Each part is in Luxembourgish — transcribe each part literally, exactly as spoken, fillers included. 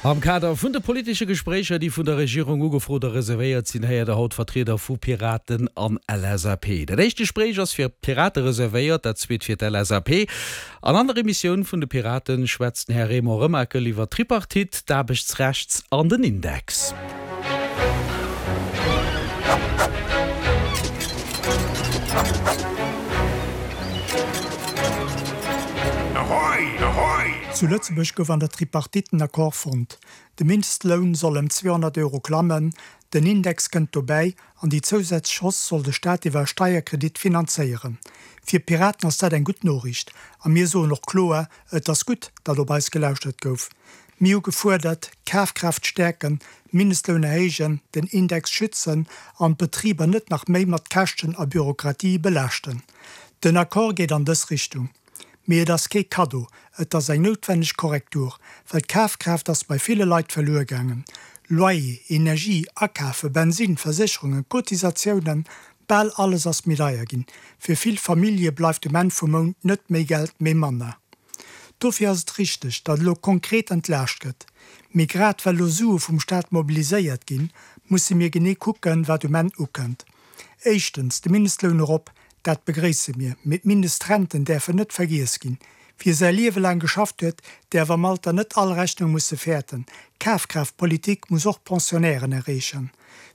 Am Kader vun de politesche Gespréicher, déi vun der Regierung ugefrot a reservéiert sinn, héiert der haut Vertrieder vu Piraten an LSAP. Dat éischt Gespréich ass fir d'Pirate reservéiert, dat zweet fir d'LSAP. An an der Emissioun vun de Piraten schwätzt den Här Raymond Remakel iwwer d'Tripartite, d'Aarbechtsrecht an den Index. Zu Lëtzebuerg gouf an der Tripartite en Accord fonnt. De Mindestloun soll ëm zweehonnert Euro klammen, den Index kënnt dobäi an déi zousätzlech Hausse soll de Staat iwwer e Steierkredit finanzéieren. Fir d'Piraten ass dat eng gutt Noriicht a mir soen och kloer, Et ass gutt, datt op eis gelauschtert gouf. Mir hu gefuerdert, d'Kafkraaft stäerken, Mindestloun erhéijen, den Index schützen an d'Betriber net nach méi mat Käschten a Bürokratie belaaschten. Den Accord geet an dës Richtung. Mee et ass kee Kaddo, et ass eng noutwenneg Korrektur, well d'Kafkraaft ass bei ville Leit verluer gaangen. Loyer, Energie, Akafen, Bensinn, Versécherungen, Cotisatiounen, bal alles ass méi deier ginn. Fir vill Famillje bleift um Enn vum Mount net méi Geld, mee manner. Dofir ass et richteg, datt elo konkret entlaascht gëtt. Mee grad well elo Sue vum Staat mobiliséiert ginn, musse mir genee kucken, wat um Enn ukënnt. Éischtens, de Mindestloun erop, dat begréisse mir. Mee d'Mindestrenten däerfen net vergiess ginn. Wie säi Liewe laang geschafft huet, däerf am Alter net all Rechnung musse fäerten. Kafkraaftpolitik muss och d'Pensionnairen erreechen.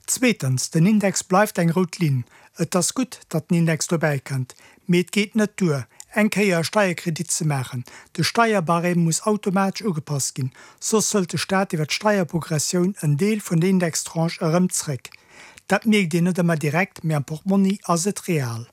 Zweetens, den Index bleift eng rout Linn. Et ass gutt, datt den Index dobäi kënnt. Mee et geet net duer, eng Kéier e Steierkredit ze maachen. De Steierbarème muss automatesch ugepasst ginn, soss hëlt de Staat iwwer d'Steierprogressioun en Deel vun der Indextranche erëm zréck. Dat mierkt een net ëmmer direkt, mee am Portmonni ass et real.